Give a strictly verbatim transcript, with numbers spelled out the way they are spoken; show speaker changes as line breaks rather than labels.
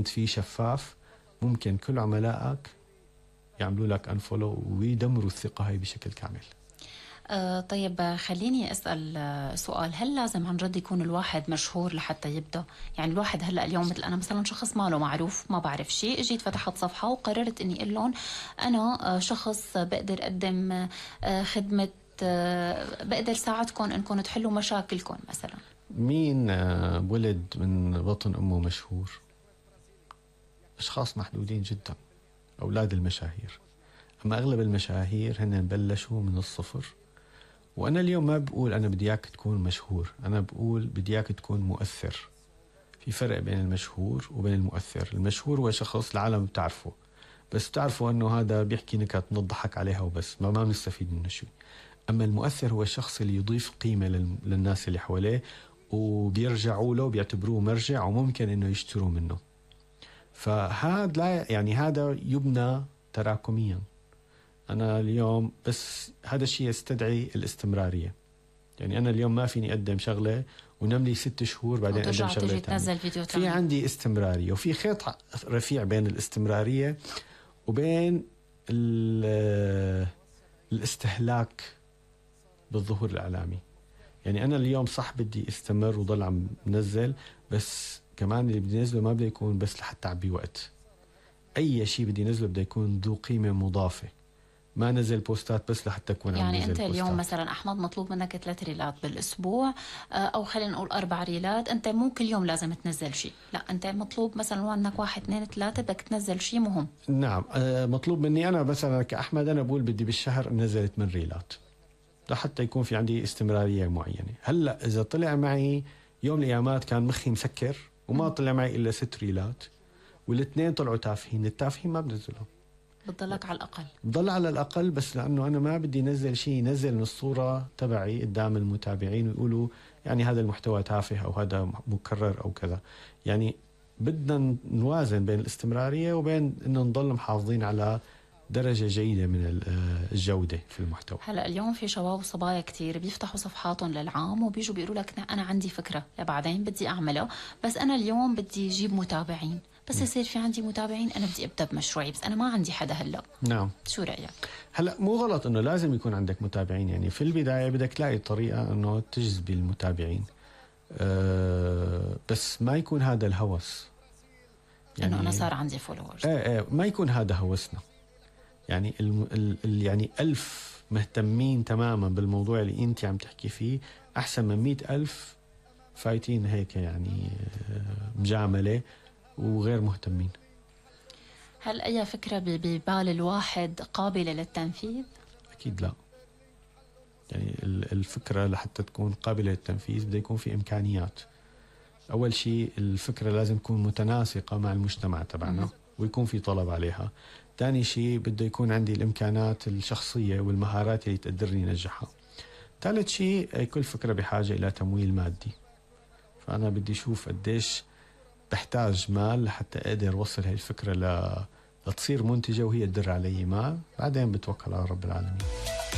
في شفاف ممكن كل عملائك يعملوا لك انفولو ويدمروا الثقة هاي بشكل كامل.
آه طيب خليني أسأل آه سؤال، هل لازم عن جد يكون الواحد مشهور لحتى يبدأ؟ يعني الواحد هلأ اليوم مثل أنا مثلا شخص ماله معروف، ما بعرف شيء، اجيت فتحت صفحة وقررت أني أقول لهم أنا آه شخص بقدر أقدم آه خدمة، آه بقدر ساعدكم أنكم تحلوا مشاكلكم مثلا.
مين آه ولد من بطن أمه مشهور؟ أشخاص محدودين جدا، أولاد المشاهير. أما أغلب المشاهير هن بلشوا من الصفر. وأنا اليوم ما بقول أنا بدي إياك تكون مشهور، أنا بقول بدي إياك تكون مؤثر. في فرق بين المشهور وبين المؤثر. المشهور هو شخص العالم بتعرفه، بس بتعرفوا أنه هذا بيحكي نكت نضحك عليها وبس، ما ما بنستفيد منه شيء. أما المؤثر هو الشخص اللي يضيف قيمة للناس اللي حواليه، وبيرجعوا له بيعتبروه مرجع وممكن أنه يشتروا منه. فهذا لا يعني هذا يبنى تراكميا. أنا اليوم بس هذا الشيء يستدعي الاستمرارية. يعني أنا اليوم ما فيني أقدم شغلة ونملي ست شهور بعدين أقدم شغلة تانية. في عندي استمرارية، وفي خيط رفيع بين الاستمرارية وبين الاستهلاك بالظهور الإعلامي. يعني أنا اليوم صح بدي استمر وضل عم نزل، بس كمان اللي بدي نزله ما بدي يكون بس لحتى أعبي وقت. أي شيء بدي نزله بدي يكون ذو قيمة مضافة، ما نزل بوستات بس لحتى أكون عم نزل
يعني
بوستات.
أنت اليوم مثلا أحمد مطلوب منك ثلاث ريلات بالأسبوع، أو خلينا نقول أربع ريلات. أنت مو كل يوم لازم تنزل شيء، لا أنت مطلوب مثلا عندك واحد اثنين ثلاثة بدك تنزل شيء مهم.
نعم مطلوب مني أنا مثلا كأحمد، أنا بقول بدي بالشهر نزلت من ريلات لحتى يكون في عندي استمرارية معينة. هلأ إذا طلع معي يوم الأيامات كان مخي مسكر وما م. طلع معي إلا ست ريلات والاثنين طلعوا تافهين، التافهين ما بنزلهم،
بتضلك على الأقل
بضل على الأقل. بس لأنه أنا ما بدي نزل شيء نزل من الصورة تبعي قدام المتابعين ويقولوا يعني هذا المحتوى تافه أو هذا مكرر أو كذا. يعني بدنا نوازن بين الاستمرارية وبين أنه نضل محافظين على درجة جيدة من الجودة في المحتوى.
هلأ اليوم في شباب وصبايا كتير بيفتحوا صفحاتهم للعام وبيجوا بيقولوا لك أنا عندي فكرة لبعدين بدي أعملها، بس أنا اليوم بدي أجيب متابعين، بس يصير في عندي متابعين أنا بدي أبدأ بمشروعي، بس أنا ما عندي حدا هلأ.
نعم.
شو رأيك؟
هلأ مو غلط أنه لازم يكون عندك متابعين. يعني في البداية بدك تلاقي طريقة أنه تجذب المتابعين، أه بس ما يكون هذا الهوس.
يعني أنه أنا صار عندي فولورز.
ايه ايه ما يكون هذا هوسنا. يعني الم... ال... يعني ألف مهتمين تماما بالموضوع اللي أنت عم تحكي فيه أحسن من مئة ألف فايتين هيك يعني مجاملة وغير مهتمين.
هل أي فكرة ببال الواحد قابلة للتنفيذ؟
أكيد لا. يعني الفكرة لحتى تكون قابلة للتنفيذ بده يكون في إمكانيات. أول شيء الفكرة لازم تكون متناسقة مع المجتمع تبعنا ويكون في طلب عليها. ثاني شيء بده يكون عندي الإمكانات الشخصية والمهارات اللي تقدرني نجحها. ثالث شيء كل فكرة بحاجة إلى تمويل مادي، فأنا بدي أشوف قديش بحتاج مال لحتى أقدر وصل هاي الفكرة ل... لتصير منتجة وهي تدر علي مال، بعدين بتوكل على رب العالمين.